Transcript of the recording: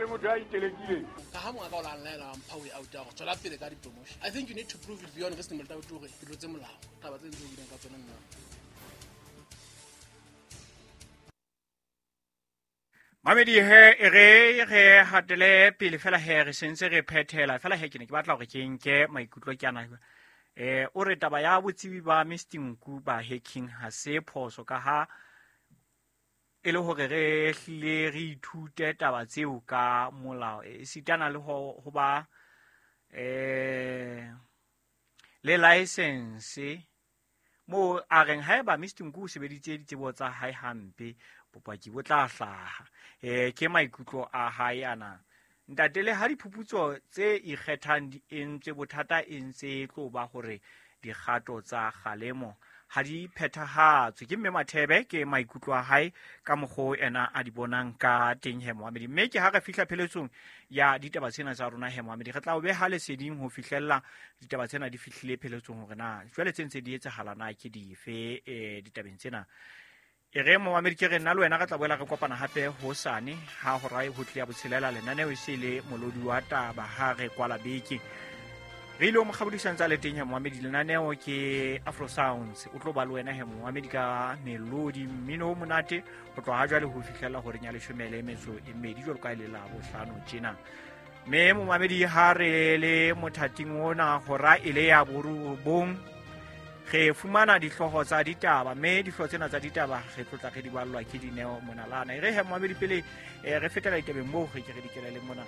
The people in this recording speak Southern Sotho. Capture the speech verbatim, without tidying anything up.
le motho a itelekileng. Ka ha mongaka o la nlaela mpha way out ya go tswela pele ka di-promotion. I think you need to prove it beyond reasonable doubt hore ke tlotse molao. Taba tse ntse o buileng ka tsona nna. Mamedi he e re re hatele pele fela he re sentse re phethela fela he ke ne ke batla hore ke nke maikutlo ke ana. Eh o re taba ya botsebi ba Mister Nku ba hacking ha se phoso ka ha e le hore re hlile re ithute taba tseo ka molao e sitana le ho ho ba eh le license mo a reng haeba Mister Nku o sebeditse ditsebo tsa hae hampe bopaki bo tla hlaha. Eh ke maikutlo a hae ana. Ntate le ha diphuputso tse ikgethang di entswe bothata e ntse e tlo ba hore dikgato tsa kgalemo ha di phethahatswe. Ke mme Mathebe ke maikutlo a hae ka mokgo ena a di bonang ka teng he Mohamedi. Mme ke ha re fihla pheletsong ya ditaba tsena tsa rona he Mohamedi, re tla o beha leseding ho fihlella ditaba tsena di fihlile pheletsong hore na jwale tse ntse di etsahala na ke dife eh ditabeng tsena. E re Mohamedi ke re nna le wena re tla boela re kopana hape hosane ha hora e ho tlia botshelela lenaneo e se le molodi wa taba ha re kwala beke. Re ile mo kgabodisang tsa le teng he Mohamedi, lenaneo ke Afro Sounds. O tlo ba le wena he Mohamedi ka melodi mmino o monate ho tloha jwale ho fihlela horeng ya leshome le metso e mmedi jwalo ka e le la bohlano tjena. Mme Mohamedi ha re le mothating ona hora e le ya borobong re fumana dihlooho tsa ditaba, mme dihlooho tsena tsa ditaba re tlotla re di ballwa ke Dineo Monalana. E re he Mohamedi pele eh, re fetela ditabeng moo re ke re di kelele mona.